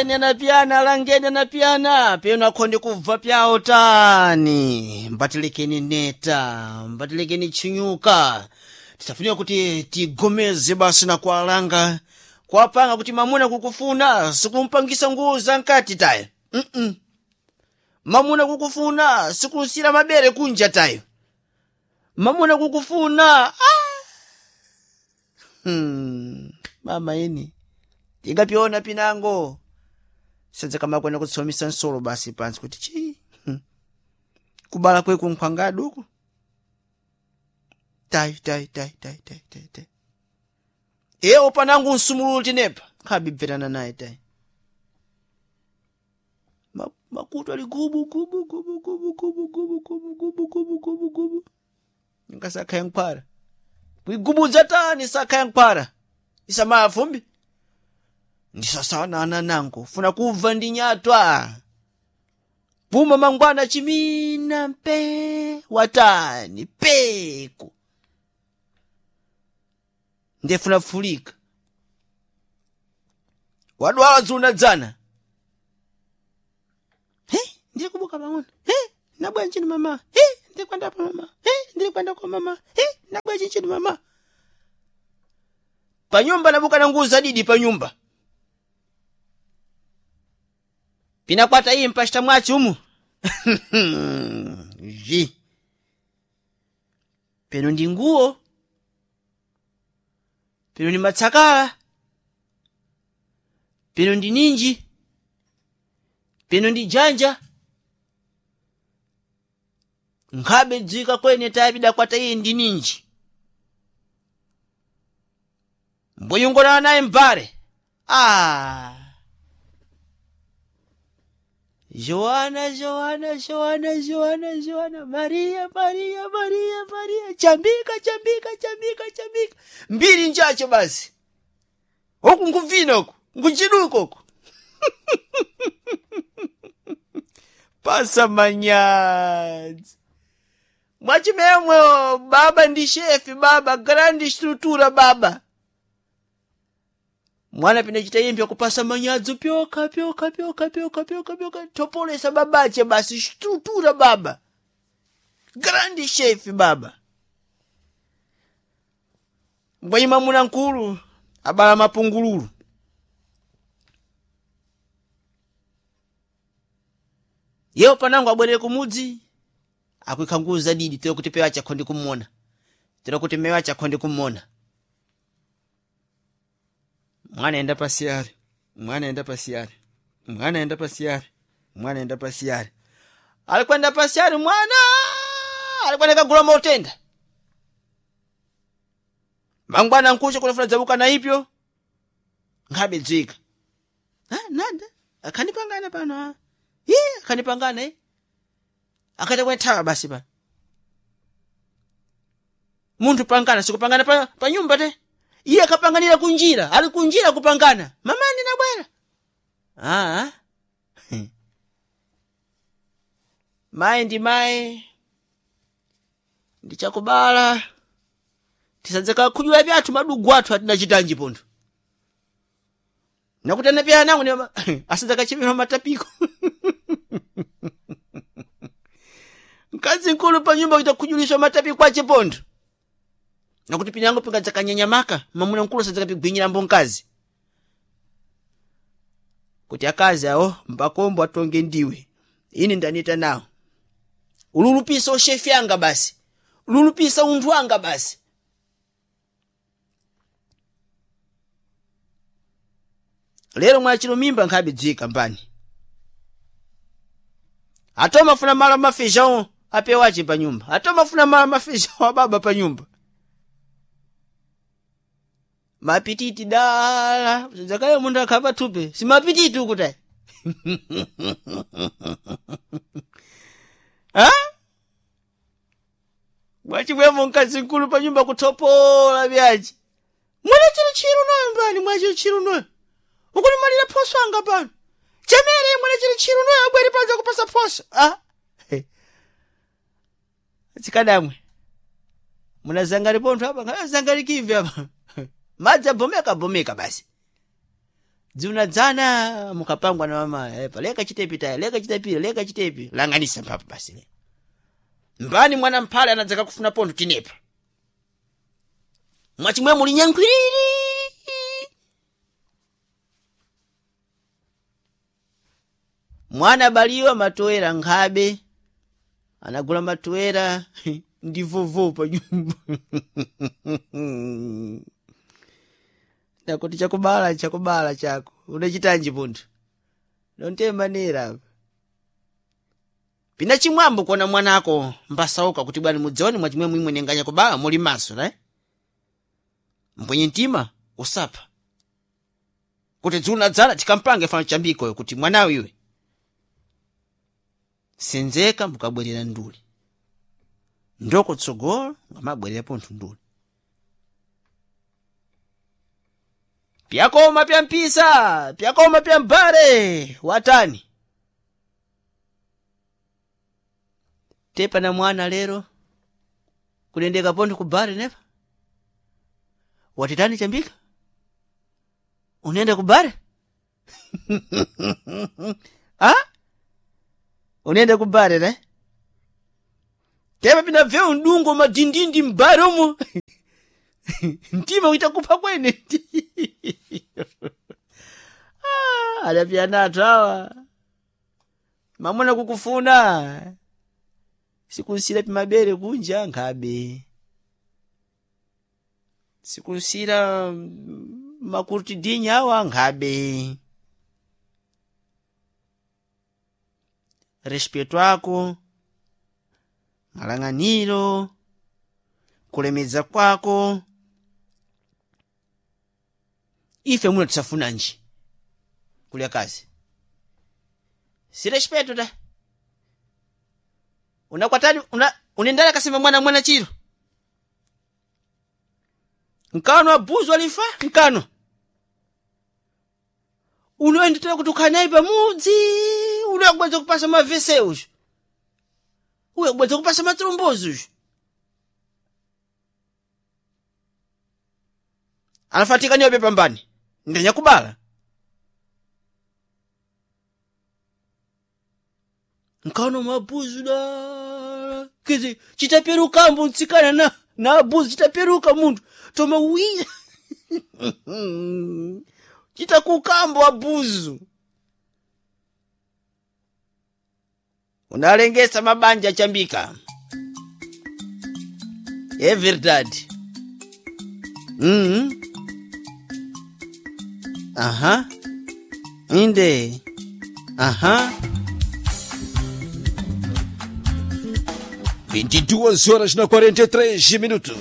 Anapiana langeni anapiana peno akhonde kubva pyawo tani mbatilekeni neta mbatilekeni chinyuka tisafunika kuti tigomeze basi na kualanga kuapanga kuti mamuna kukufuna sikumpangisa nguwo za nkati tayo mm mamuna kukufuna sikunsira mabere kunja tayo mamuna kukufuna ah! Mama ini tingapiona pinango sadza kamakwena kutsomisa nsolo basi pansi kuti chi kubala kweku nkhwangadi uku tayi tayi tayi tayi tayi tayi tayi ewo panangu nsumululu tinepa nkhabibverana naye tayi makutu ali gubu gubu gubu gubu gubu gubu gubu gubu gubu gubu gubu ngasakha yankhwara kuigubudza tani sakha yankhwara isamaya fumbi ndisasanana nango funa kubva ndi nyatwa puma mangwana chimina mpe watani peku ndefuna fulika wadwala dzuna dzana he ndiri kubuka pang'ono he nabwa nchini mama he ndiri kwenda pa mama he ndiri kwenda kwa mama he nabwa chinchini mama panyumba nabuka na nguzo zadidi panyumba pinakwata iyi mpashita mwachi umu ji peno ndi nguwo peno ndi matsakala peno ndi ninji peno ndi janja nkhabe dzika kwene tayi pidakwata iyi ndi ninji mbuyungulana naye mbale ah. Joana, Joana, Joana, Joana, Joana, Maria, Maria, Maria, Maria, chambika, chambika, chambika, chambika. Mbiri njacho basi. Huku nkuvina huku, nkuchiduka huku. Pasa manyadzi. Mwachimemwe baba ndi shefi baba, grand structure baba. Mwana pinachita impya kupasa manyadzo pyoka pyoka pyoka pyoka pyoka pyoka topolesa babache basi structure baba. Grand chef baba. Mbwenyi mwamuna nkulu abala mapungululu. Yewo panango abwerere kumudzi akwikha nguwo zadidi tero kuti pewa chakho ndikumona. Tero kuti mewa chakho ndikumona. Mwana enda pasiyari mwana enda pasiyari mwana enda pasiyari mwana enda pasiyari alikwenda pasiyari mwana alikwenda kagula mautenda mangwana nkucha kunafuna dzabuka na ipyo nkhabe dzika ah, nanda akhanipangana pano ah. Ii, akhanipangana eh. Akati kwenthawa basi pano munthu pangana sikupangana pa, pa nyumba te iye akapanganira kunjira ali kunjira kupangana mama ndinabwera ah mayi ndi mayi ndichakubala tisadzeka khudwira pyathu madugu athu atinachitanji pontho nakutana pya nangu ni asadzakachimira matapiko mkazi mkulu pa nyumba kuita khujuliswa matapiko ache pontho nakuti pinango pingadzakanyanyamaka mamuna mkulu sadzakapigwinyira mkazi kuti akazi awo mbakombo atonge ndiwe ini ndanita nawo ululupisa ushefi anga basi ululupisa unthu anga basi lero mwachilo mimba nkhabe dzika mbani atomafuna malo mafeijão apewache pa nyumba atomafuna malo mafeijão ababa pa nyumba mapititi dala zakayo munthu akhapa thupe simapititi ukutayi ha mwachimwemo mkazi mkulu pa nyumba kuthopola byachi mwana chilo chiro noyo mbani mwa chilo noyo ukulimalira phoso anga pano chemere mwana chilo chiro noyo abwere panza kupasa phoso ah tsikadamwe munazangari pontho apa zangali kivi apa madzi abomeka abomeka basi. Dziunadzana mukapangwa na mama epa leka chitepi taya, leka chitepi, leka chitepi. Langanisa mphapo basi le. Mbani mwana mphale anadzaka kufuna pontho tinepa. Mwachimwe muli nyankhwiriri. Mwana baliwa matoera nkhabe. Anagula matoera ndi vovo pa nyumba. Ndakuti chakubala chakubala chako. Unachitanji punthu. Nonte manera apa. Pina chimwambo kuona mwanako mbasauka kuti bwani mudzione mwachimwe mwimwe nenganya kubala muli maso, right? Mbwenye mtima usapha. Kuti dzuna dzala tikampange fano chambikoyo kuti mwanawe iwe. Senzeka mukabwerera nduli. Ndoko tsogolo ngamabwerera pontho nduli. Pyakoma pya mpisa, pyakoma pya mbale, watani. Tepa na mwana lero, kulendeka pontho kubale nepa. Watitani chambika? Unaenda kubare? Ha? Unaenda kubare ne? Tepa pina vyeu ndungo madindindi mbare umu. Mtima utakupa kwene. Ah, adapiyana awa. Mamuna kukufuna. Sikunsira pimabere kunja nkhabe. Sikunsira makurtidinya awa nkhabe. Respeto ako, malang'aniro, kulemedza kwako. Ife muno tisafunanji kulya kazi. Si respeto ta. Unakwatani una unendala kasema mwana mwana chiro. Nkano abuzu alifa nkano. Unoendelea kutukana pamudzi, unakubweza kupasa mavese uyu. Uyo kubweza kupasa matrombozi uyu. Anafatika niyo pambani. Ndenya kubala. Nkano mabuzu da. Kizi chitaperuka mbu ntsikana na na abuzu chitaperuka munthu. Toma wiya. Chitakukambo abuzu. Unalengesa mabanja chambika. É verdade. Aham. Inde. Aham. 22 horas na 43 minutos.